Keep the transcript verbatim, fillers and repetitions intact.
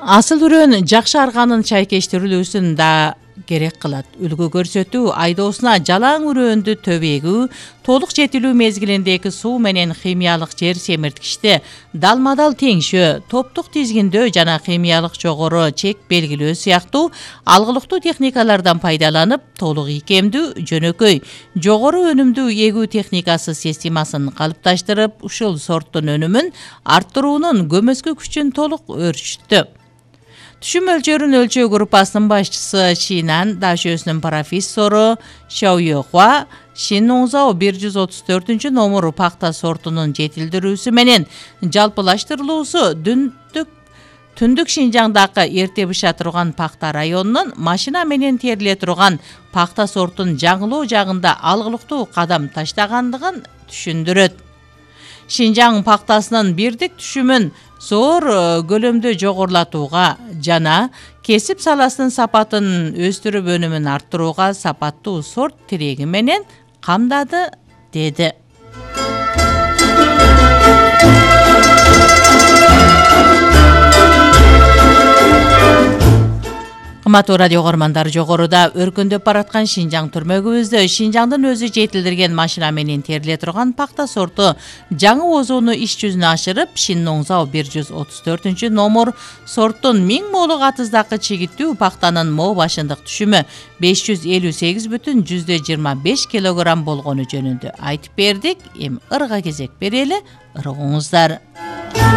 Асыл үрөн жакшы арганын чайкештирилүүсүн да керек кылат. Үлгү көрсөтүү айдоосуна жалаң үрөндү төбөгүү, толук жетилүү мезгилиндеги суу менен химиялык жер семирткичти далма-дал теңшөө, топтук тизгиндөө жана химиялык жогору чек белгилөө сыяктуу алгылыктуу техникалардан пайдаланып, толук ийкемдүү, жөнөкөй, жогору өнүмдүү эгүү техникасы системасын калыпташтырып, ушул сорттун өнүмүн арттыруунун көмөскө күчүн толук өөрчүттү. Түшүм өлчөрүн өлчөө группасынын башчысы Шинан дашөөсүнүн профессору Шаоюхуа Шиннуңзао бир жүз отуз төртүнчү номер пахта сортунун жетилдирүүсү менен жалпылаштырылуусу дүндүк Түндүк Шинжаңдагы эрте быша турган пахта районунун машина менен териле турган пахта сортун жаңылоо жагында алгылыктуу кадам таштагандыгын түшүндүрөт. Шинжаң пахтасынын бирдик түшүмүн зор көлөмдө жогорулатууга жана кесип саласынын сапатын өстүрүп өнүмүн арттырууга сапаттуу сорт тиреги менен камдады, деди. Кымбаттуу радио көрөрмандар, жогоруда өркүндөп бараткан Шинжаң түрмөгүбүздө Шинжаңдын өзү жетилдирген машина менен териле турган пахта сорту жаңы озууну иш жүзүнө ашырып, Шиннуңзао бир жүз отуз төртүнчү номер сорттун миң молук атыздагы чигиттүү пахтанын мо башындык түшүмү беш жүз элүү сегиз бүтүн жүздө жыйырма беш килограмм болгону жөнүндө айтып бердик. Эми ырга кезек берели, ыргыңыздар.